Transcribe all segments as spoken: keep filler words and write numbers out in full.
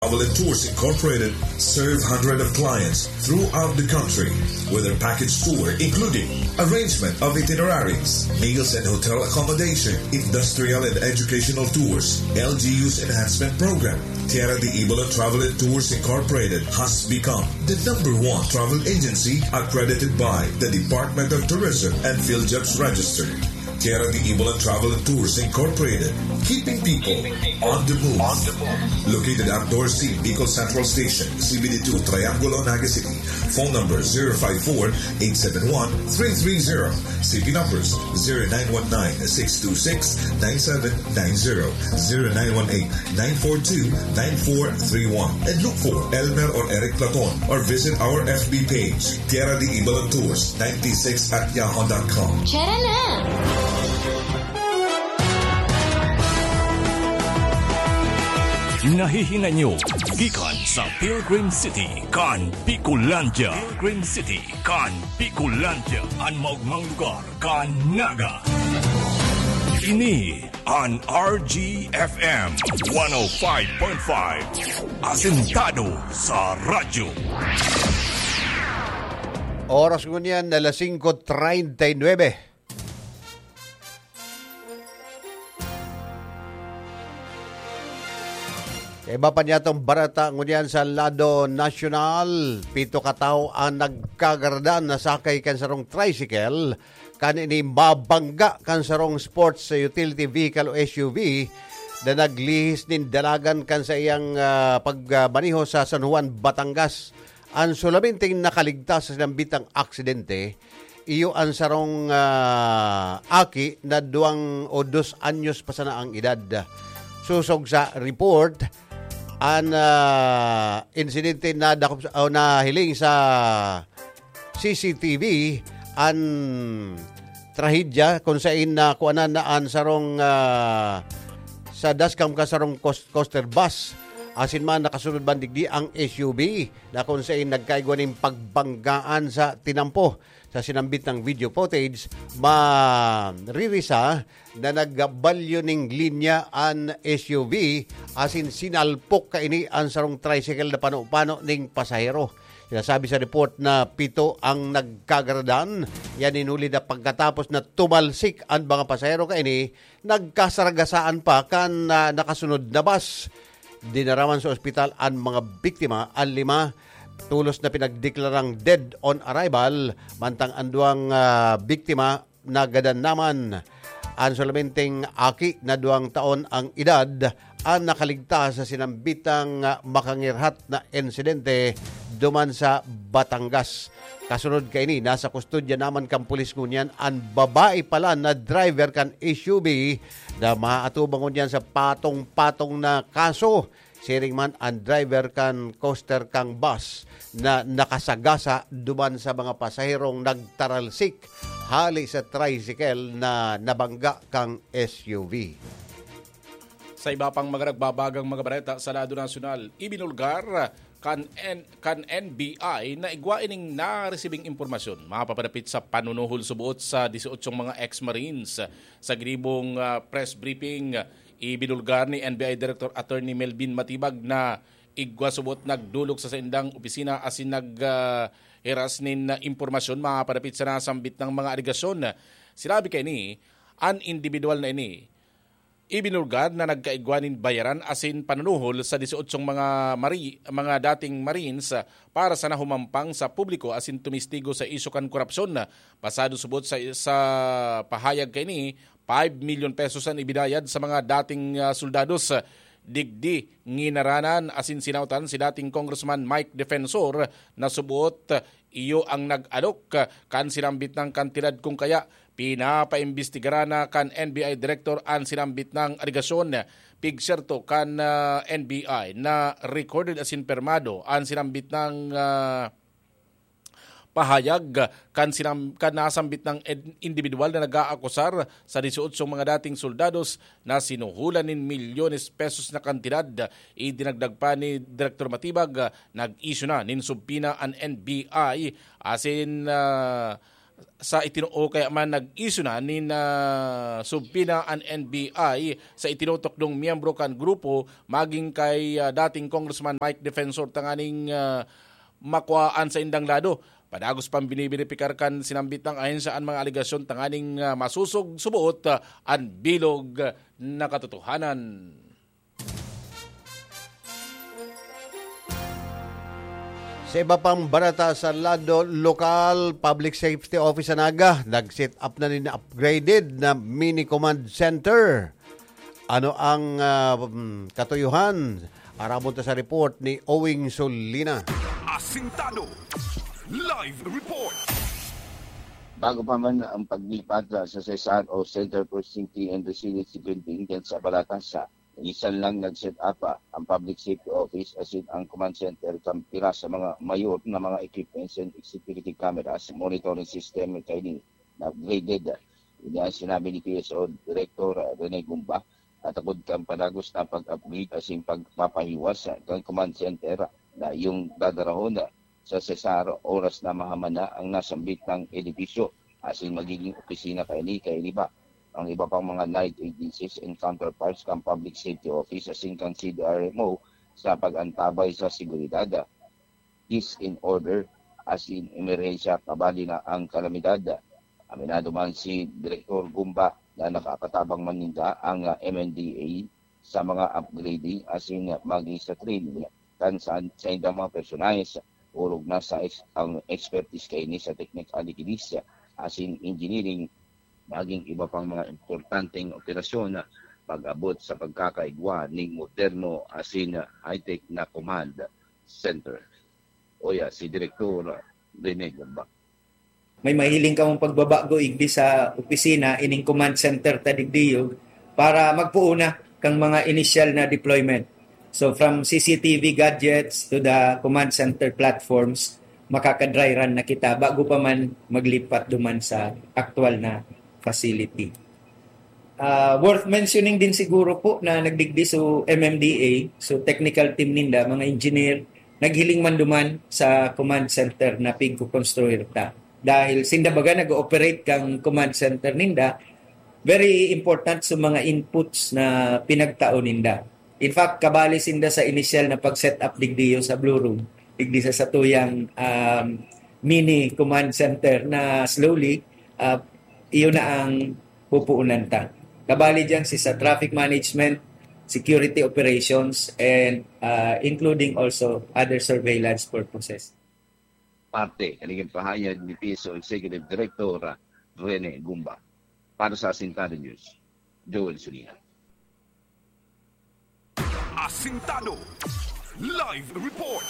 Travel and Tours Incorporated serve hundreds of clients throughout the country with their package tour, including arrangement of itineraries, meals and hotel accommodation, industrial and educational tours, L G U's enhancement program. Tierra de Ibola Travel and Tours Incorporated has become the number one travel agency accredited by the Department of Tourism and PhilJobs Register. Tierra de Ibola Travel and Tours Incorporated, keeping people on the move. Located at Dorothy Bicol Central Station, C B D two, Triangulo, Naga City. Phone number zero five four, eight seven one, three three zero. C P numbers zero nine one nine, six two six, nine seven nine zero, zero nine one eight, nine four two, nine four three one. And look for Elmer or Eric Platon or visit our F B page, Tierra de Ibola Tours ninety-six at yahoo dot com. Tara na! Nahihingan nyo gikan sa Pilgrim City kan Bicolandia. Pilgrim City kan Bicolandia, an maogmang lugar kan Naga. Ini an R G F M one oh five point five. Asentado sa radyo. Oras ngunyan na alas singko treinta y nuebe. Sa iba pa niyatong bareta ngunyan sa lado nasyonal, pito ka tawo ang nagkagaradan na sakay kan sarong tricycle kan ini mabangga kan sarong sports utility vehicle o S U V na naglihis nin dalagan kan sa iyang, ah, pagmaneho sa San Juan, Batangas. An solamente nakaligtas sa sinambitang aksidente, iyo an sarong, ah, aki na duwang o dos anyos pa sana ang edad. Sosog sa report, an, ah, insidente nadakop sa, o nahiling sa C C T V an trahedya kung sain na kuanan na an sarong, ah, sa dashcam ka sarong cos-, coaster bus. Asin man nakasunod man digdi ang S U V na kung sain nagkaigwa nin pagbanggaan sa tinampo. Sa sinambit ng video footage, maririsa na nagbalyo ning linya an S U V asin sinalpok kaini an sarong tricycle na pano-pano ning pasahero. Sinasabi sa report na pito ang nagkagaradan. Yan hinuli na pagkatapos na tumalsik an mga pasahero kaini, nagkasaragasaan pa kan, ah, nakasunod na bus. Dinaraman sa ospital an mga biktima, an lima tolos na pinagdeklarang dead on arrival, mantang an duwang, ah, biktima nagadan naman. An solamenteng aki na duwang taon ang edad, ang nakaligtas sa sinambitang makangirhat na insidente duman sa Batangas. Kasunod kaini, nasa kustodya naman kan pulis ngunyan an babae pala na driver kan S U V na maatubang ngunyan sa patong-patong na kaso. Siring man an driver kan coaster kang bus na nakasagasa duman sa mga pasaherong nagtaralsik hali sa tricycle na nabangga kang S U V. Sa iba pang mga nagbabagang mga bareta sa lado nasyonal, ibinulgar kan N-, kan N B I na igwa ining naresibing impormasyon mapapadapit sa panunuhol subuot sa dieciocho mga ex-marines sa ginibong, ah, press briefing. Ibinulgar ni N B I Director Attorney Melvin Matibag na igwa subot nagdolok sa saindang opisina asin nag, ah, heras nin, ah, impormasyon mapapadapit sa nasambit na mga alegasyon. Sinabi kaini, an indibidwal na ini ibinulgar na nagkaigwa nin bayaran asin panunuhol sa dieciocho mga mari-, mga dating Marines para sana humampang sa publiko asin tumistigo sa isyu kan korapsyon. Pasado subot sa, sa pahayag kaini, five million pesos an ibinayad sa mga dating, ah, soldados. Digdi, nginaranan asin sinautan si dating Congressman Mike Defensor na subot iyo ang nag-alok kan sinambit na kantidad, kung kaya pinapaimbestigaran na kan N B I Director an sinambit na alegasyon. Pigserto kan, ah, N B I na recorded asin permado an sinambit na, ah, pahayag kan sinam-, kan nasambit na ed-, indibidwal na nag-aakusar sa dieciocho mga dating soldados na sinuhulan nin milyones pesos na kantidad. Idinagdag pa ni Director Matibag, nag-issue na nin subpoena an N B I asin, ah, sa itinoo kaya man nag-issue na nin, ah, subpoena an N B I sa itinutukdong miyembro kan grupo maging kay, ah, dating Congressman Mike Defensor tanganing, ah, makuhaan sa indang lado. Padagos pang binibiripikar kan sinambit ng ahensya an mga alegasyon tanganing, ah, masusog subuot, ah, an bilog na katotohanan. Sa iba pang barata sa lado lokal, Public Safety Office sa Naga, nag-set up na nin upgraded na mini command center. Ano ang, ah, mm, katuyuhan? Arabon ta sa report ni Owing Solina. Asintado. Live report. Bago pa man ang paglipat sa Cesar o Center for Safety and Resilience Security Intelligence sa Balata sa Isan lang nag-set up, ah, ang Public Safety Office asin ang command center kan pira sa mga mayor na mga equipments and C C T V cameras, monitoring system kaini na upgraded. Ini ang sinabi ni P S O Director, ah, Rene Gumba, at takod kan padagos na pag-upgrade asin pagpapahiwas, ah, kan command center na iyong dadarahon, ah, sa Cesar oras na mahaman na ang nasambit na edipisyo asin magiging opisina kaini kaini pa. Ang iba pang mga night agencies and counterparts kan Public Safety Office asin kan C D R M O sa pag-antabay sa seguridad, ah, is in order asin emerhensya kabali na ang kalamidad. Aminado man si Direktor Gumba na nakapatabang man ninda ang, ah, M N D A sa mga upgrading asin maging sa training kan sa, sa indang mga personahes, orog na sa ex-, ang expertise kaini sa technical degrees asin engineering, maging iba pang mga importanteng operasyon, pag-abot sa pagkakaigwa ning moderno asin high-tech na command center. Oya, si Direktor Rene Gumba. May mahiling kamong pagbabago igdi sa opisina, ining command center ta digdi, para magpoon na kang mga initial na deployment. So, from C C T V gadgets to the command center platforms, makaka-dry run na kita bago pa man maglipat duman sa aktual na facility. Ah, worth mentioning din siguro po na nagdigdi so M M D A, so technical team ninda, mga engineer, naghiling man duman sa command center na pigkokonstruir ta. Dahil sinda baga nag-ooperate kang command center ninda, very important sa mga inputs na pinagtao ninda. In fact, kabali sinda sa initial na pag-set up digdiyo sa Blue Room, digdi sa satuyang, um, mini command center na slowly, uh, iyon na ang pupuunan ta. Kabali diyan si sa traffic management, security operations, and, uh, including also other surveillance purposes. Parte, kanigin pahayag ni P S O Executive Director, ah, Rene Gumba. Para sa Asintado News, Joel Sulina. Asintado. Live report.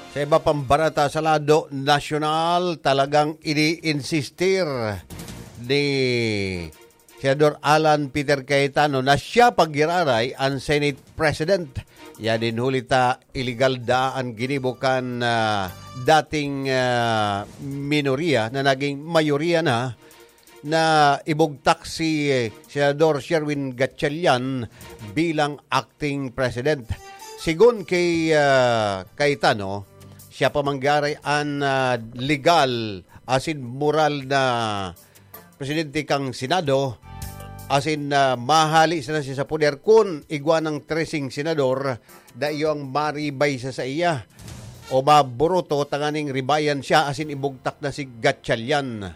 Sa iba pang barata sa lado nasyonal, talagang ini-insistir ni Senador Alan Peter Cayetano na siya paggiraray an Senate President. Yan din huli ta iligal da an ginibo kan, ah, dating, ah, minorya na naging mayorya na, na ibugtak si, eh, Senador Sherwin Gatchalian bilang acting president. Sigon kay, ah, Cayetano, siya pa man giraray an, ah, legal asin moral na presidente kang Senado, asin, ah, mahale sana siya sa poder kun igwa nang treseng senador, dai ang maribay sa saiya o maburuto tanganing ribayan siya asin ibugtak na si Gatchalian.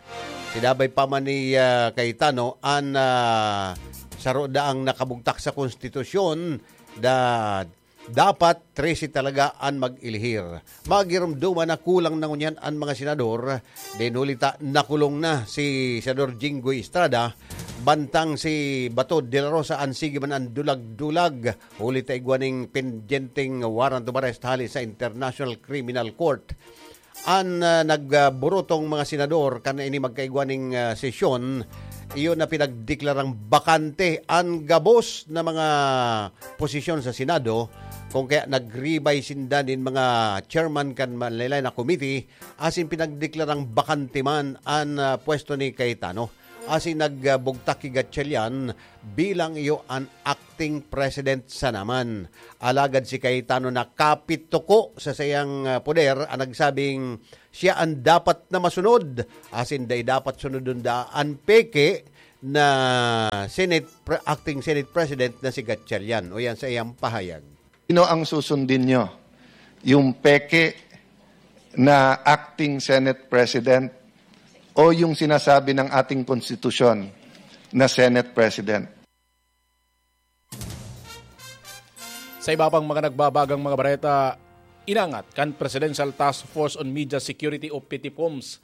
Sinabay pa man ni, ah, Cayetano an, ah, saro daang nakabugtak sa konstitusyon, da-, dapat trese talaga an mag-elihir. Magirumduman na kulang na ngunyan an mga senador. Din huli ta nakulong na si Senador Jinggoy Estrada, bantang si Bato de la Rosa an sige man an dulag-dulag. Huli ta igwa ning pendyenteng warrant of arrest hali sa International Criminal Court. An, ah, nagburutong mga senador kan ini magkaigwa ning, ah, sesyon, iyon na pinagdeklarang bakante an gabos na mga posisyon sa Senado, kung kaya nagribay sinda nin mga chairman kan manlaylay na committee, asin pinagdeklarang bakante man an, ah, pwesto ni Cayetano. asin nagbugtak ki Gatchalian bilang iyo an acting president sa naman. Alagad si Cayetano nakapituko sa saiyang, ah, poder, ang nagsabing siya an dapat na masunod, asin dai dapat sunodon da an peke na Senate pre-, acting Senate President na si Gatchalian, o yan sa iyang pahayag. Sino ang susundin nyo? Yung peke na acting Senate President o yung sinasabi ng ating konstitusyon na Senate President? Sa iba pang mga nagbabagang mga bareta, inangat kan Presidential Task Force on Media Security o PTPOMS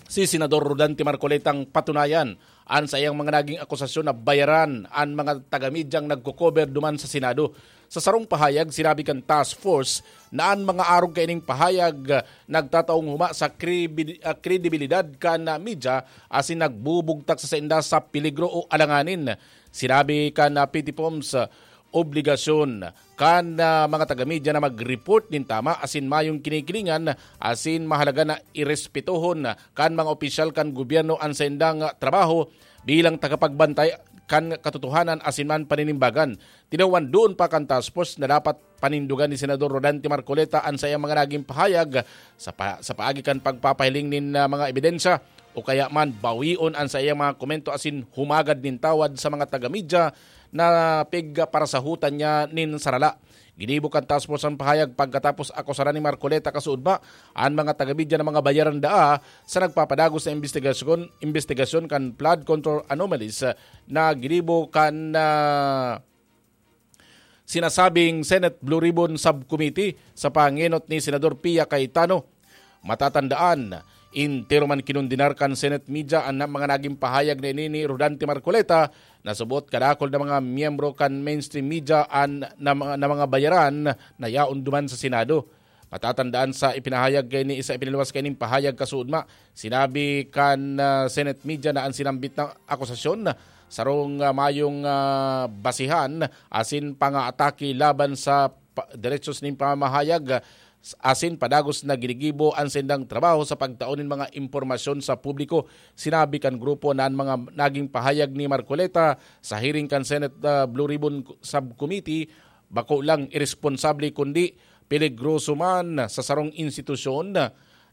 si Senador Rodante Marcoleta ang patunayan an saiyang mga naging akusasyon na bayaran an mga taga-medyang nagko-cover duman sa Senado. Sa sarong pahayag, sinabi kan task force na an mga arog kaining pahayag, ah, nagtataong huma sa kribi-, ah, kredibilidad kan, ah, media asin nagbubugtak sa sainda sa peligro o alanganin. Sinabi kan, ah, PTPOMS, ah, obligasyon kan, ah, mga taga-media na mag-report nin tama asin mayong kinikilingan asin mahalaga na irespetohon kan mga opisyal kan gobyerno an saindang, ah, trabaho bilang tagapagbantay kan katotohanan asin man paninimbagan. Tinawan duon pa kan task force na dapat panindogan ni Senador Rodante Marcoleta an saiyang mga naging pahayag sa pa-, sa paagi kan pagpapahiling nin, ah, mga ebidensya o kaya man bawion an saiyang mga komento asin humagad nin tawad sa mga taga-media na pigparasahotan niya nin sarala. Ginibo kan task force an pahayag pagkatapos akusaran ni Marcoleta kasuodma an mga taga-media na mga bayaran daa sa nagpapadagos na imbestigasyon, imbestigasyon kan flood control anomalies na ginibo kan, ah, sinasabing Senate Blue Ribbon Subcommittee sa pangenot ni Senador Pia Cayetano. Matatandaan, entero man kinondenar kan Senate media an mga naging pahayag na ini ni Rodante Marcoleta na subot kadakul na mga miyembro kan mainstream media an, na, mga- na mga bayaran na yaon duman sa Senado. Matatandaan sa ipinahayag kaini, sa ipiniluwas kaining pahayag kasuodma, sinabi kan, ah, Senate media na an sinambit na akusasyon sarong, ah, mayong, ah, basihan asin pangaatake laban sa pa-, derechos nin pamamahayag, ah, asin padagos na ginigibo an saindang trabaho sa pagtao nin mga impormasyon sa publiko. Sinabi kan grupo na an mga naging pahayag ni Marcoleta sa hearing kan Senate, ah, Blue Ribbon Subcommittee bako lang iresponsable kundi peligroso man sa sarong institusyon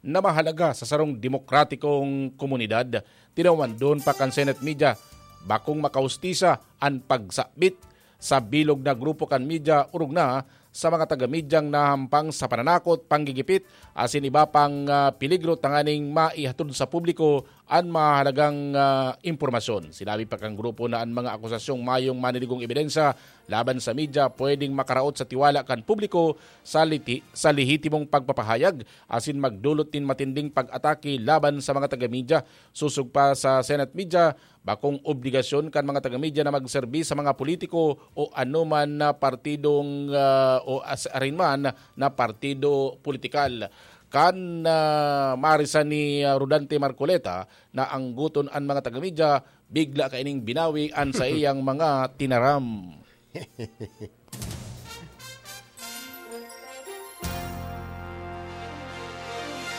na mahalaga sa sarong demokratikong komunidad. Tinawan duon pa kan Senate media, bakong makahustisya an pagsabit sa bilog na grupo kan media, orog na sa mga taga-medyang nahampang sa pananakot, panggigipit, asin iba pang, ah, peligro tanganing maihatod sa publiko an mahalagang, ah, impormasyon. Sinabi pa kan grupo na an mga akusasyong mayong maniligong ebidensya laban sa media pwedeng makaraot sa tiwala kan publiko sa liti-, sa lehitimong pagpapahayag asin magdulot nin matinding pag-atake laban sa mga taga-media. Sosog pa sa Senate media, bakong obligasyon kan mga taga-media na magserbi sa mga politiko o anoman na partidong, ah, o as-, arin man na partido politikal. Kan, ah, marisan ni, ah, Rodante Marcoleta na anggoton an mga taga-media, bigla kaining binawi an saiyang mga tinaram.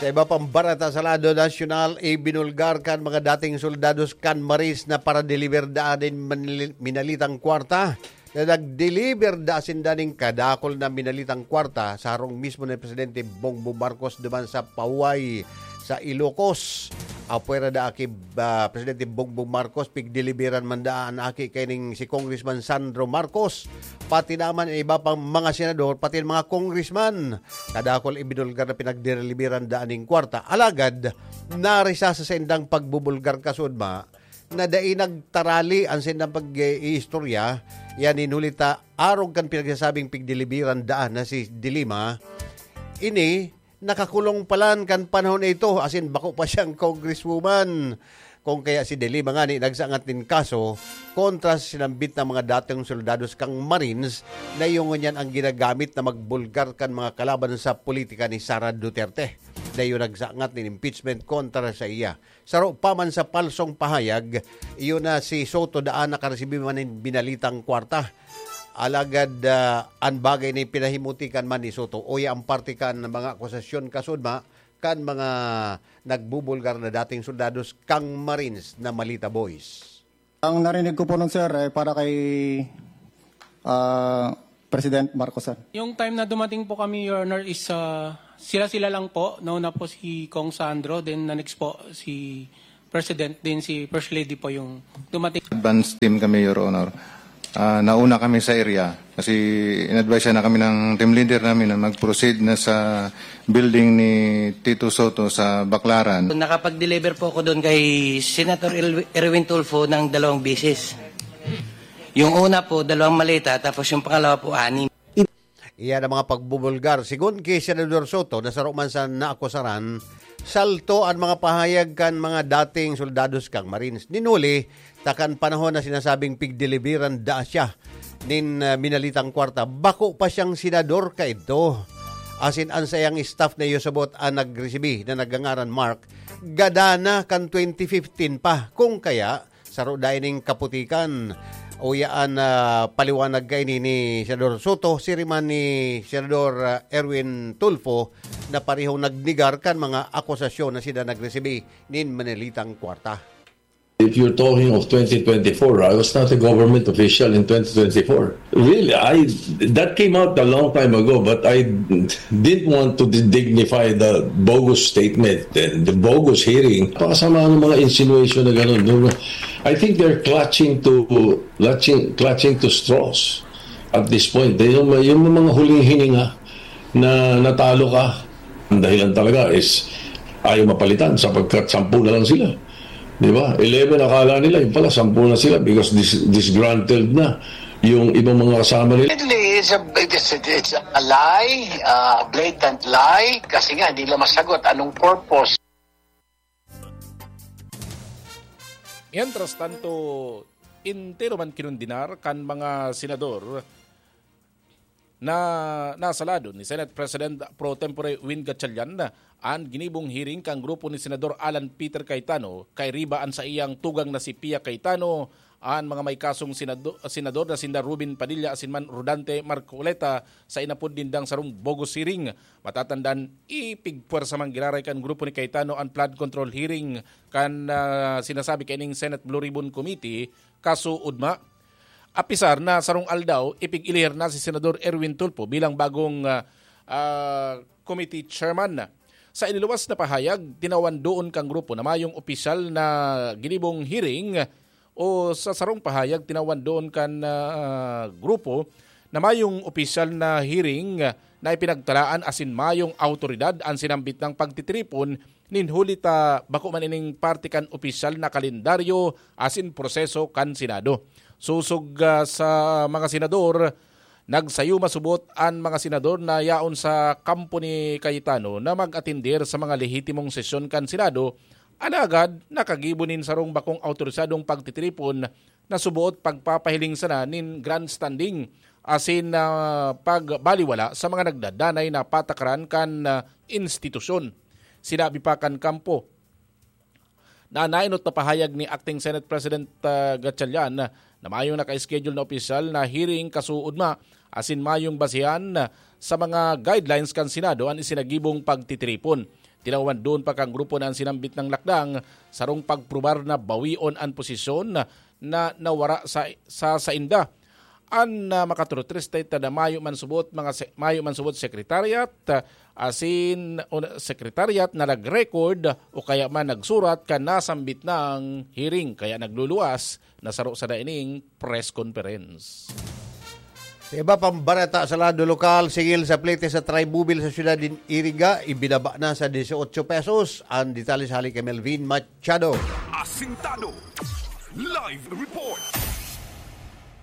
Sa iba pang bareta sa lado nasyonal, ibinulgar kan mga dating soldados kan Marines na para deliver daan nin manli-, minalitang kwarta na nag-deliver da sinda nin kadakul na minalitang kwarta sa harong mismo ni Presidente Bongbong Marcos duman sa Pahuay sa Ilocos. Apwera da aki, ah, Presidente Bongbong Marcos, pigdeliveran man daan aki kaining si Congressman Sandro Marcos, pati naman an iba pang mga senador, pati an mga congressman. Kadakul ibinulgar na pinagdeliveran daan nin kwarta. Alagad, narisa sa saindang pagbubulgar kasuodma, na dai nagtarali an saindang pag-iistorya, yan nin huli ta arog kan pinagsasabing pigdeliveran daan na si De Lima, ini nakakulong palan kan panahon na ito, asin bako pa siyang congresswoman. Kung kaya si De Lima ngani nagsangat nin kaso kontra sa sinambit na mga dating soldados kan Marines na iyo ngunyan an ginagamit na magbulgar kan mga kalaban sa politika ni Sara Duterte, na iyo nagsangat nin impeachment kontra sa iya. Saro pa man sa palsong pahayag, iyo na si Soto daan nakaresibi man nin binalitang kwarta. Alagad, ah, an bagay na ipinahimutikan man ni Soto, uya an parte kan mga akusasyon kasuodma, kan mga nagbubulgar na dating soldados kan Marines na Malita Boys. Ang narinig ko po nun, sir, ay para kay ah, President Marcos, sir. Yung time na dumating po kami, Your Honor, is ah, sila-sila lang po. Nauna po si Cong Sandro, then the next po si President, then si First Lady po yung dumating. Advance team kami, Your Honor. Ah, nauna kami sa area kasi in-advise na kami ng team leader namin na mag-proceed na sa building ni Tito Soto sa Baclaran. Nakapag-deliver po ako doon kay Senator Erwin Tulfo ng dalawang bisis. Yung una po, dalawang maleta, tapos yung pangalawa po, anim. Iyan ang mga pagbubulgar. Sigon ki Senador Soto na saro man sa naakusaran, salto an mga pahayag kan mga dating soldados kan Marines. Nin huli, ta kan panahon na sinasabing pigdeliveran daa siya nin ah, minalitang kwarta, bako pa siyang senador kaidto. Asin an saiyang staff na iyo sabot an nagresibi na nagngangaran Mark, gada na kan twenty fifteen pa. Kung kaya, saro dai ning kaputikan. Uya an ah, paliwanag kaini ni Senador Soto, siring man ni Senador ah, Erwin Tulfo na parehong nagnegar kan mga akusasyon na sinda nagresibi nin minalitang kwarta. If you're talking of twenty twenty-four, I was not a government official in twenty twenty-four. Really, I that came out a long time ago, but I didn't want to dignify the bogus statement and the bogus hearing. Pakasama ng mga insinuation na gano'n. No, no. I think they're clutching to clutching clutching to straws at this point. Yung, yung mga huling hininga na natalo ka, ang dahilan talaga is ayaw mapalitan sapagkat sampu na lang sila. Di ba? Eleven akala nila, yung pala, sampu na sila because dis- disgruntled na yung ibang mga kasama nila. It's a, it's, it's a lie, uh, blatant lie, kasi nga hindi nila masagot anong purpose. Mientras tanto, entero man kinondenar kan mga senador na nasalado ni Senate President pro tempore Win Gatchalian an ginibong hearing kan grupo ni Senador Alan Peter Cayetano kairiba an saiyang tugang na si Pia Cayetano, an mga may kasong senado- senador na sinda Robin Padilla asin man Rodante Marcoleta sa inapod nindang sarong bogus hearing. Matatandaan, ipigpwersa man giraray kan grupo ni Cayetano an flood control hearing kan ah, sinasabi kaining Senate Blue Ribbon Committee, kaso ugma. Apisar na sarong aldaw, ipig-elihir na si Senador Erwin Tulfo bilang bagong ah, ah, committee chairman. Sa iniluwas na pahayag, tinawan doon kan grupo na mayong opisyal na ginibong hearing o sa sarong pahayag, tinawan doon kan ah, grupo na mayong opisyal na hearing na ipinagtalaan asin mayong awtoridad an sinambit nang pagtitiripon nin huli ta bako man ining parte kan opisyal na kalendaryo asin proseso kan Senado. Sosog ah, sa mga senador, nagsayo masubot an mga senador na yaon sa kampo ni Cayetano na mag-atender sa mga lehitimong sesyon kan Senado, alagad nakagibo nin sarong bakong awtorisadong pagtitiripon na suboot pagpapahiling sana nin grandstanding asin ah, pagbaliwala sa mga nagdadanay na patakaran kan ah, institusyon. Sinabi pa kan kampo na nainot na pahayag ni Acting Senate President ah, Gatchalian na mayong naka-schedule na opisyal na hearing kasuod ma asin mayong basehan sa mga guidelines kan Senado an isinagibong pagtitiripon. Tinawan doon pa kan grupo na an sinambit na lakdang sarong pagprobar na bawion an posisyon na nawara sa, sa sainda. An ah, makaturutres ta na mayo man subot mga se- mayo man subot secretariat ah, asin o na- secretariat na nag-record o kaya man nagsurat kan nasambit nang hearing kaya nagluluwas na saro sa daining press conference. Sa iba pang bareta sa lado lokal, singil sa plete sa Trimobile sa siyudad nin Iriga, ibinaba na sa dieciocho pesos. Ang detalye sa hali kay Melvin Machado. Asintado Live Report.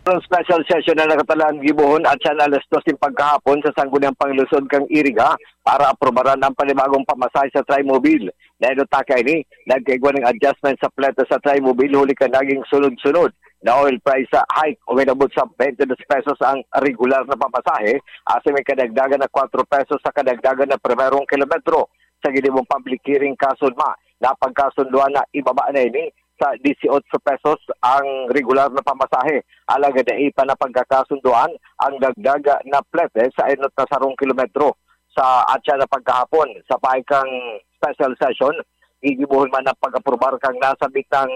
Ang special session na nakatalaan gibohon at siya na alas dos ng pagkahapon sa Sangguniang Panglungsod kang Iriga para aprobaran ang panibagong pamasahe sa Trimobile. Dahil ta kaini, nagkaigwa ng adjustment sa pleta sa Trimobile huli ka naging sunod-sunod na oil price sa hike o inabot sa twenty-two pesos ang regular na pamasahe, asin may kadagdagan na kwatro pesos sa kadagdagan na primerong kilometro. Sa ginibong public hearing kasunma, napagkasunduan na ibaba na ini sa dieciocho pesos ang regular na pamasahe. Alagad dai pa napagkakasunduan ang dagdag na plete sa enot na sarong kilometro. sa atya na pagkahapon. Sa pahay kang special session, gigibohon man ang pag-aprobar kang nasabitang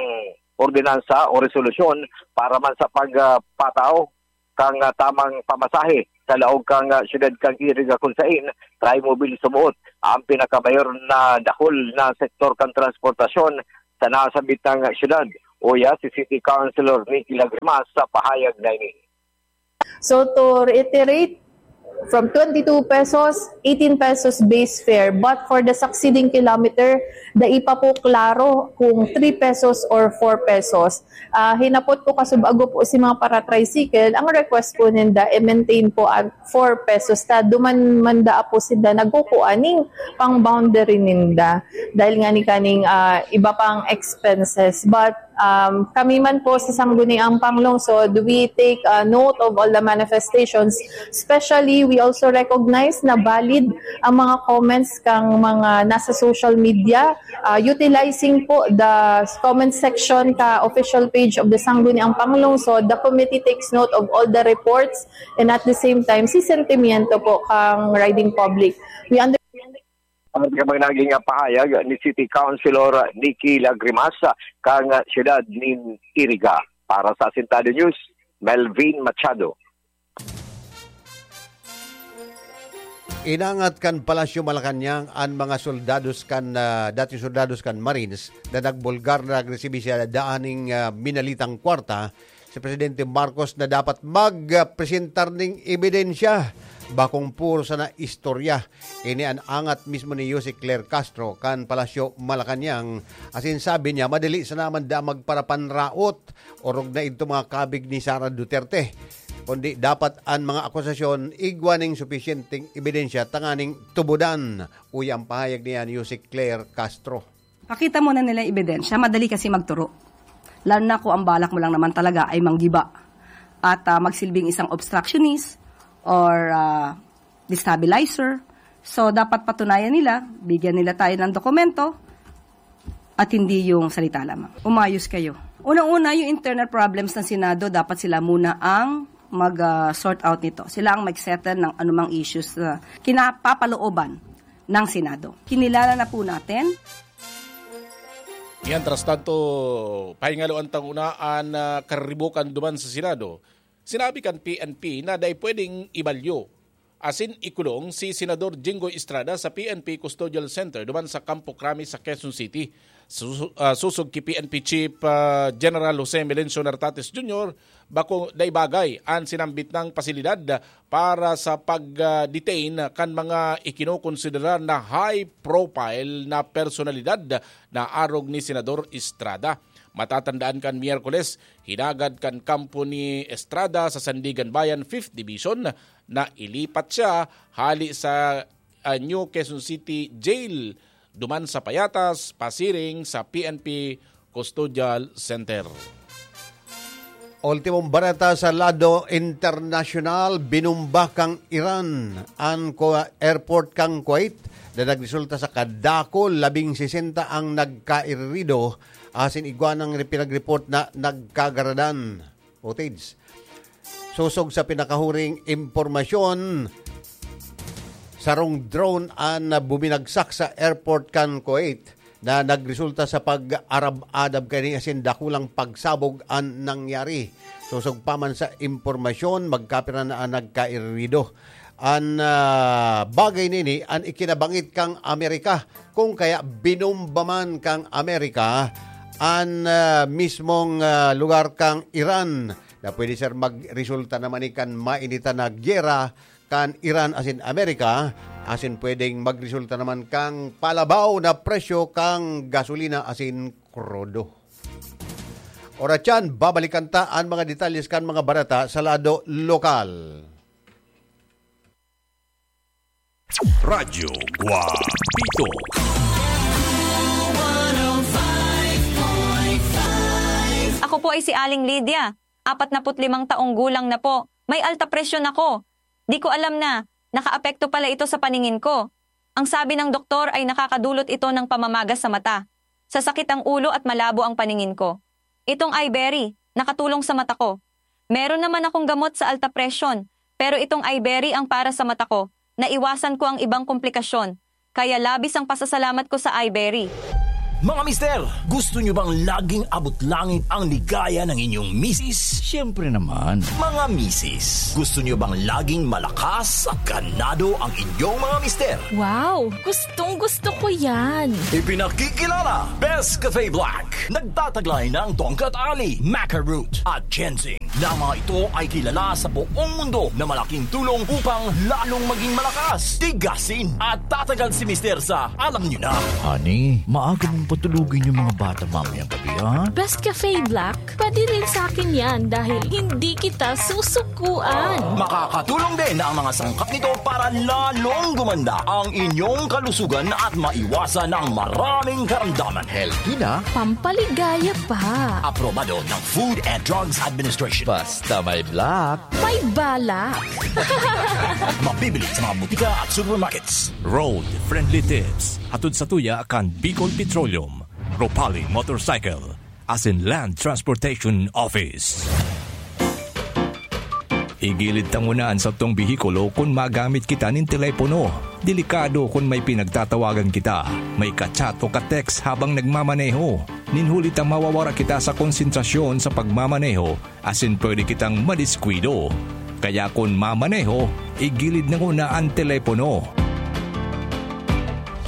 ordinansa o resolusyon para man sa pagpataw kan, ah, tamang pamasahe sa laog kan, ah, siyudad kan Iriga, kun sain Trimobile sumuot ang pinakamayor na dakul na sektor kan transportasyon sa nasabitang siyudad. Uya si City Councilor Nicky Lagrimas sa pahayag na ini. So, to reiterate, from twenty-two pesos, eighteen pesos base fare. But for the succeeding kilometer, dai pa po klaro kung three pesos or four pesos. Ah, hinapot ko kasub-ago po si mga para-tricycle, ang request po ninda, i-maintain po ang four pesos ta. Duman man daa po sila nagkukuha ning pang-boundary ninda. Dahil nga ni kaning, ah, iba pang expenses. But, um, kami man po sa Sangguniang Panglungsod, we take, ah, note of all the manifestations. Especially, we also recognize na valid ang mga comments kang mga nasa social media. Ah, utilizing po the comment section ka official page of the Sangguniang Panglungsod, the committee takes note of all the reports and at the same time, si sentimiento po kang riding public. We under- Ang mga naging pahayag ni City Councilor Nicky Lagrimas kang siyudad nin Iriga. Para sa Asintado News, Melvin Machado. Inangat kan Palasyo Malacañang an mga soldados kan, ah, dating soldados kan Marines na nagbulgar na nagresibi siya daan ning, ah, minalitang kwarta si Presidente Marcos na dapat magpresentar ning ebidensya, bakong puro sana istorya. Ini an angat mismo ni Yusek Claire Castro kan Palasyo Malacañang, asin sabi niya, madali sana man da magparapanraot, orog na idto mga kabig ni Sara Duterte. Kundi dapat an mga akusasyon igwa ning supisyenteng ebidensya tanganing tubodan, uya ang pahayag niya ni Yusek Claire Castro. Pakita mo na nila yung ebidensya, madali kasi magturo. Lalo na kung ang balak mo lang naman talaga ay manggiba at, ah, magsilbing isang obstructionist or, ah, destabilizer. So, dapat patunayan nila, bigyan nila tayo ng dokumento at hindi yung salita lamang. Umayos kayo. Unang-una, yung internal problems ng Senado, dapat sila muna ang mag, ah, sort out nito. Sila ang mag-settle ng anumang issues na kinapapalooban ng Senado. Kinilala na po natin. Mientras tanto, pahingaloan tang una an, ah, kariribukan duman sa Senado. Sinabi kan P N P na dai pwedeng ibalyo asin ikulong si Senador Jinggoy Estrada sa P N P Custodial Center duman sa Campo Crame sa Quezon City. Su-, ah, susog ki P N P Chief, ah, General Jose Melencio Nartates Junior, bako dai bagay an sinambit nang pasilidad para sa pag, ah, detain kan mga ikinokonsiderar na high profile na personalidad na arog ni Senador Estrada. Matatandaan kan Miyerkules, hinagad kan kampo ni Estrada sa Sandiganbayan Fifth Division na ilipat siya hali sa, ah, New Quezon City Jail duman sa Payatas, pasiring sa P N P Custodial Center. Ultimong bareta sa lado internasyonal, binumba kan Iran an Ku-, airport kan Kuwait na nagresulta sa kadakul, labing sesenta ang nagkairido, asin igwa nang re-, pinagreport na nagkagaradan. Footage. Sosog sa pinakahuring impormasyon, sarong drone an buminagsak sa airport kan Kuwait na nagresulta sa pag-arab-adab kaini asin dakulang pagsabog an nangyari. Sosog pa man sa impormasyon, magkapira na an nagkairido. An, ah, bagay nini, an ikinabangit kang Amerika, kung kaya binomba man kang Amerika an, ah, mismong, ah, lugar kang Iran, na pwede sir magresulta naman ni kan mainitan na giyera kan Iran asin Amerika, asin pwedeng magresulta naman kang palabaw na presyo kang gasolina asin krudo. Oras yan, babalikan ta an mga detalles kan mga bareta sa lado lokal. Radyo Guapito. Ako po ay si Aling Lydia, apat na put limang taong gulang na po. May alta presyon ako. Di ko alam na nakaapekto pala ito sa paningin ko. Ang sabi ng doktor ay nakakadulot ito ng pamamaga sa mata, sa sakit ang ulo at malabo ang paningin ko. Itong Iberry, nakatulong sa mata ko. Meron naman akong gamot sa alta presyon, pero itong Iberry ang para sa mata ko. naiwasan ko ang ibang komplikasyon, kaya labis ang pasasalamat ko sa Iberry. Mga mister, gusto nyo bang laging abot langit ang ligaya ng inyong misis? Siyempre naman. Mga misis, gusto nyo bang laging malakas at ganado ang inyong mga mister? Wow! Gustong gusto ko yan! Ipinakikilala, Best Cafe Black. Nagtataglay ng tongkat ali, maca root, at ginseng. Na mga ito ay kilala sa buong mundo na malaking tulong upang lalong maging malakas, tigasin, at tatagal si mister sa, alam nyo na. Honey, maaga mong patulugin yung mga bata mamayang gabi, ha? Best Cafe Black, pwede rin sa akin yan dahil hindi kita susukuan. Makakatulong din ang mga sangkap nito para lalong gumanda ang inyong kalusugan at maiwasan ang maraming karamdaman. Healthy na. Pampaligaya pa. Aprobado ng Food and Drugs Administration. Basta may black. May balak. Mabibili sa mga butika at supermarkets. Road Friendly Tips. Hatod sa tuya kan Bicol Petroleum, Ropali Motorcycle, asin Land Transportation Office. Igilid ta nguna an satong behikulo kun magamit kita nin telepono. Delikado kun may pinagtatawagan kita, may ka-chat o ka-text habang nagmamaneho. Nin huli ta mawawara kita sa konsentrasyon sa pagmamaneho asin pwede kitang madiskuido. Kaya kun mamaneho, igilid na nguna an telepono.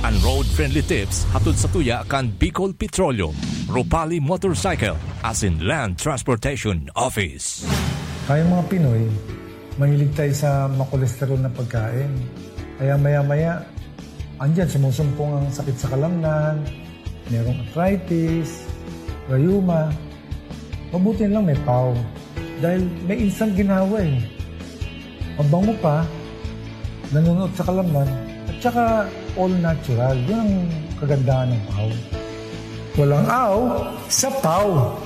An road-friendly tips hatod sa tuya kan Bicol Petroleum, Ropali Motorcycle, asin Land Transportation Office. Tayong mga Pinoy, mahilig tayo sa makolesterol na pagkain. Kaya maya-maya, andyan, sumusumpong ang sakit sa kalamnan, merong arthritis, rayuma. Mabuti na lang may pau. Dahil may instant ginawa eh. Mabango pa, nanunuot sa kalamnan, at saka all natural. Yun ang kagandahan ng pau. Walang aw sa pau.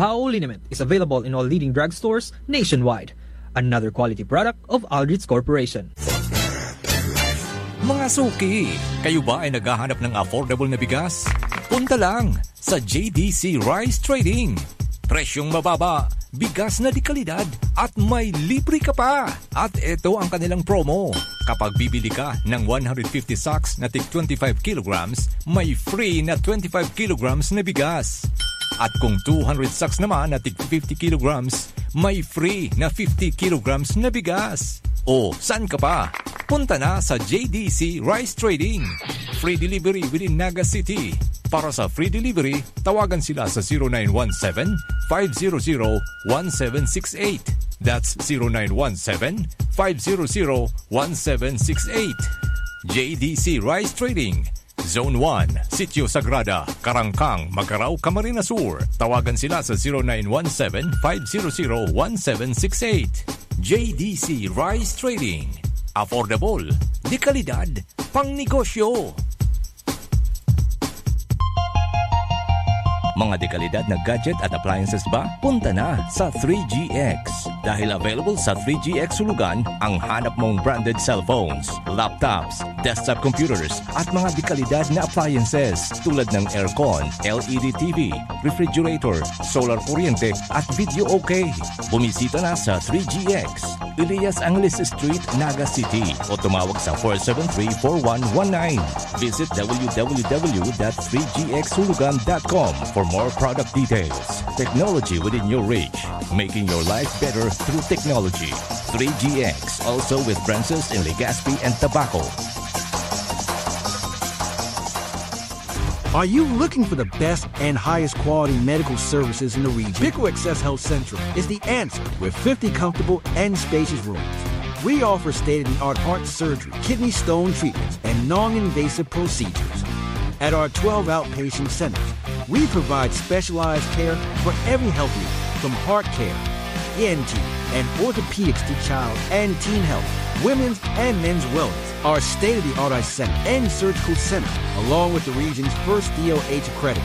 Pau liniment is available in all leading drugstores nationwide. Another quality product of Aldrich Corporation. Mga suki, kayo ba ay naghahanap ng affordable na bigas? Punta lang sa J D C Rice Trading. Presyong mababa, bigas na de kalidad, at may libre ka pa! At eto ang kanilang promo. Kapag bibili ka ng one hundred fifty sacks na tig twenty-five kilograms, may free na twenty-five kilograms na bigas. At kung two hundred sacks naman na tig fifty kilograms, may free na fifty kilograms na bigas. O, saan ka pa? Punta na sa J D C Rice Trading. Free delivery within Naga City. Para sa free delivery, tawagan sila sa zero nine one seven, five zero zero, one seven six eight. That's zero nine one seven, five zero zero, one seven six eight. J D C Rice Trading, Zone one, Sitio Sagrada, Carangcang, Magarao, Camarines Sur. Tawagan sila sa zero nine one seven, five zero zero, one seven six eight. J D C Rice Trading. Affordable, de kalidad, pangnegosyo. Mga dekalidad na gadget at appliances ba? Punta na sa three G X. Dahil available sa three G X Hulugan ang hanap mong branded cellphones, laptops, desktop computers, at mga dekalidad na appliances tulad ng aircon, L E D T V, refrigerator, solar kuryente, at video okay. Bumisita na sa three G X, Elias Angeles Street, Naga City, o tumawag sa four seven three, four one one nine. Visit w w w dot three g x hulugan dot com for more product details. Technology within your reach, making your life better through technology. Three G X, also with branches in Legazpi and Tabaco. Are you looking for the best and highest quality medical services in the region? Pico Access Health Central is the answer with fifty comfortable and spacious rooms. We offer state-of-the-art heart surgery, kidney stone treatments, and non-invasive procedures. At our twelve outpatient centers, we provide specialized care for every health need, from heart care, E N T, and orthopedics to child and teen health, women's and men's wellness. Our state-of-the-art eye center and surgical center, along with the region's first D O H accredited,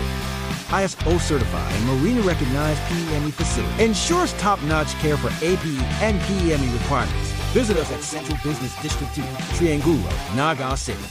I S O certified, and Marina recognized P E M E facility, ensures top-notch care for A P E and P E M E requirements. Visit us at Central Business District two, Triangulo, Naga City.